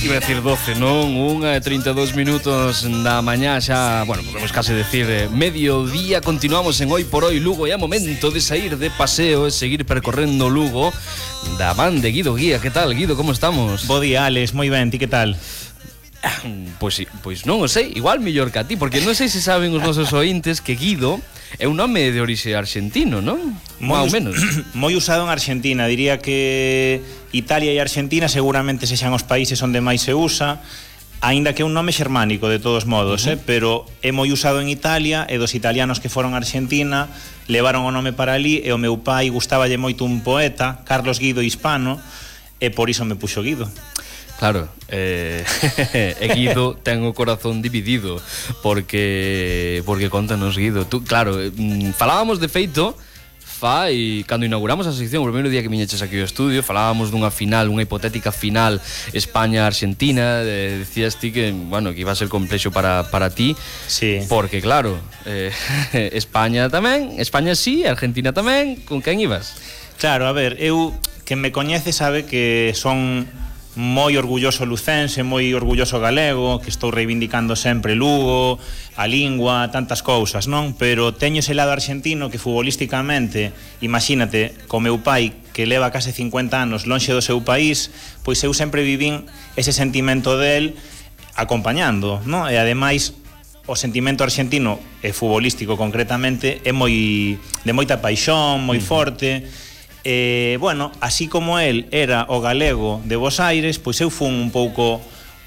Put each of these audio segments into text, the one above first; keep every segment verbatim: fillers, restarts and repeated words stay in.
Iba a decir doce, non? Unha e trinta e dous minutos da mañá xa, bueno, podemos case decir eh, mediodía. Continuamos en Hoy por Hoy Lugo e é momento de sair de paseo e seguir percorrendo Lugo da man de Guido Guía. Que tal, Guido, como estamos? Bo día, Alex, moi ben, ti que tal? Pois, pois non o sei, igual mellor que a ti, porque non sei se saben os nosos ointes que Guido é un nome de orixe argentino, non? Más ou menos. Moi usado en Argentina, diría que Italia e Argentina seguramente sexan os países onde máis se usa, aínda que é un nome xermánico de todos modos, uh -huh. eh, pero é moi usado en Italia e dos italianos que foron a Argentina levaron o nome para ali e o meu pai gustaballe moito un poeta, Carlos Guido Hispano, e por iso me puxo Guido. Claro, eh, e Guido ten o corazón dividido porque porque contanos, Guido. Tú, claro, falábamos de feito fai cando inauguramos a sección, o primeiro día que viñeches aquí ao estudio, falábamos dunha final, unha hipotética final España-Argentina, eh, decías ti que, bueno, que iba a ser complexo para, para ti, sí. Porque claro, eh, España tamén, España sí, Argentina tamén, con quen ibas? Claro, a ver, eu, quen me coñece sabe que son moi orgulloso lucense, moi orgulloso galego, que estou reivindicando sempre Lugo, a lingua, tantas cousas, non? Pero teño ese lado argentino que futbolísticamente, imagínate, co meu pai que leva case cincuenta anos lonxe do seu país, pois eu sempre vivín ese sentimento del acompañando, non? E ademais o sentimento argentino e futbolístico concretamente é moi de moita paixón, moi forte. Eh, bueno, así como el era o galego de Bos Aires, pois eu fun un pouco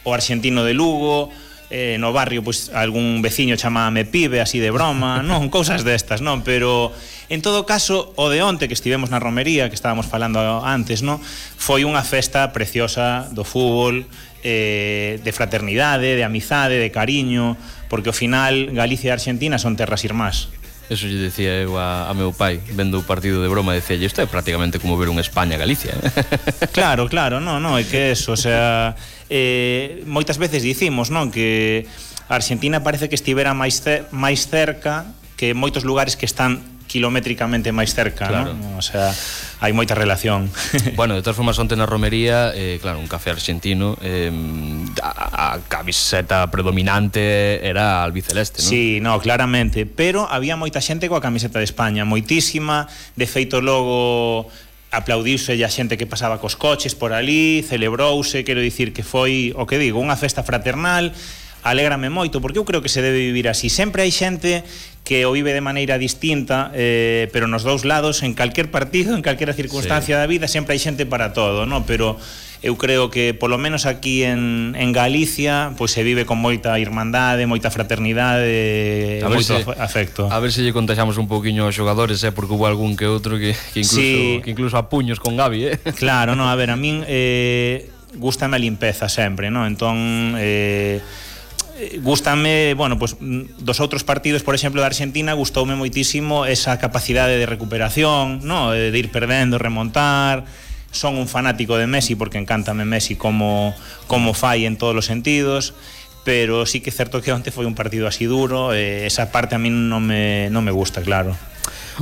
o argentino de Lugo, eh, no barrio pois algún veciño chamábame pibe, así de broma, non, cousas destas, non, pero en todo caso o de onte que estivemos na romería, que estábamos falando antes, non, foi unha festa preciosa do fútbol, eh, de fraternidade, de amizade, de cariño, porque ao final Galicia e Argentina son terras irmás. Eso lle decía eu a, a meu pai vendo o partido de broma, decía, isto é prácticamente como ver un España-Galicia, eh? Claro, claro, non, non, é que eso, o sea, eh, moitas veces dicimos, non, que a Argentina parece que estivera máis, ce máis cerca que moitos lugares que están kilométricamente máis cerca, claro. Non? O sea, hai moita relación. Bueno, de todas formas, onte na romería, eh, claro, un café argentino, eh, a, a camiseta predominante era albiceleste, non? Sí, no, claramente, pero había moita xente coa camiseta de España, moitísima, de feito logo aplaudiuse a xente que pasaba cos coches por ali, celebrouse, quero dicir que foi, o que digo, unha festa fraternal. Alégrame moito, porque eu creo que se debe vivir así. Sempre hai xente que o vive de maneira distinta, eh, pero nos dous lados, en calquer partido, en calquera circunstancia, sí, da vida, sempre hai xente para todo, ¿no? Pero eu creo que, polo menos aquí en, en Galicia, pois se vive con moita irmandade, moita fraternidade, moito se, afecto. A ver se lle contaxamos un pouquiño aos xogadores, eh, porque hubo algún que outro que, que, incluso, sí, que incluso a puños con Gavi, eh? Claro, no, a ver, a min eh, gústame a limpeza sempre, ¿no? Entón, eh, gústame, bueno, pues dos outros partidos, por exemplo, da Argentina, gustoume moitísimo esa capacidade de recuperación, no, de ir perdendo, remontar. Son un fanático de Messi porque encántame Messi como como fai en todos os sentidos, pero sí que é certo que onte foi un partido así duro, e esa parte a mí non me non me gusta, claro.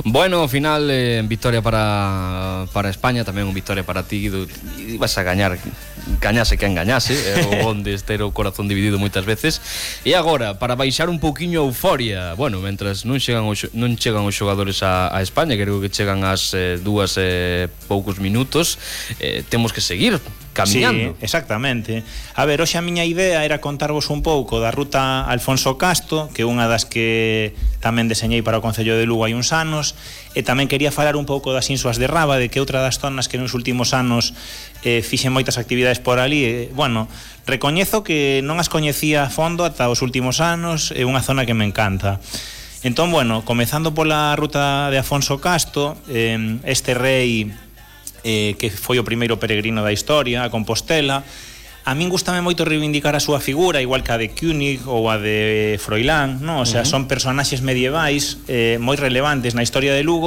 Bueno, ao final, eh, victoria para, para España, tamén un victoria para ti, Guido. Ibas a gañar, gañase quen gañase, eh, onde ter o corazón dividido moitas veces. E agora, para baixar un pouquiño a euforia, bueno, mentras non chegan os, non chegan os xogadores a, a España, creo que chegan as eh, dúas e eh, poucos minutos, eh, temos que seguir camiñando. Sí, exactamente. A ver, hoxe a miña idea era contarvos un pouco da ruta Alfonso Casto, que é unha das que tamén deseñei para o Concello de Lugo hai uns anos, e tamén quería falar un pouco das Insuas de Rábade, que é outra das zonas que nos últimos anos eh, fixen moitas actividades por ali. E, bueno, recoñezo que non as coñecía a fondo ata os últimos anos, é unha zona que me encanta. Entón, bueno, comezando pola ruta de Afonso Casto, eh, este rei eh, que foi o primeiro peregrino da historia, a Compostela, a min gustame moito reivindicar a súa figura, igual que a de König ou a de Froilán, non? O sea, uh -huh. son personaxes medievais eh, moi relevantes na historia de Lugo,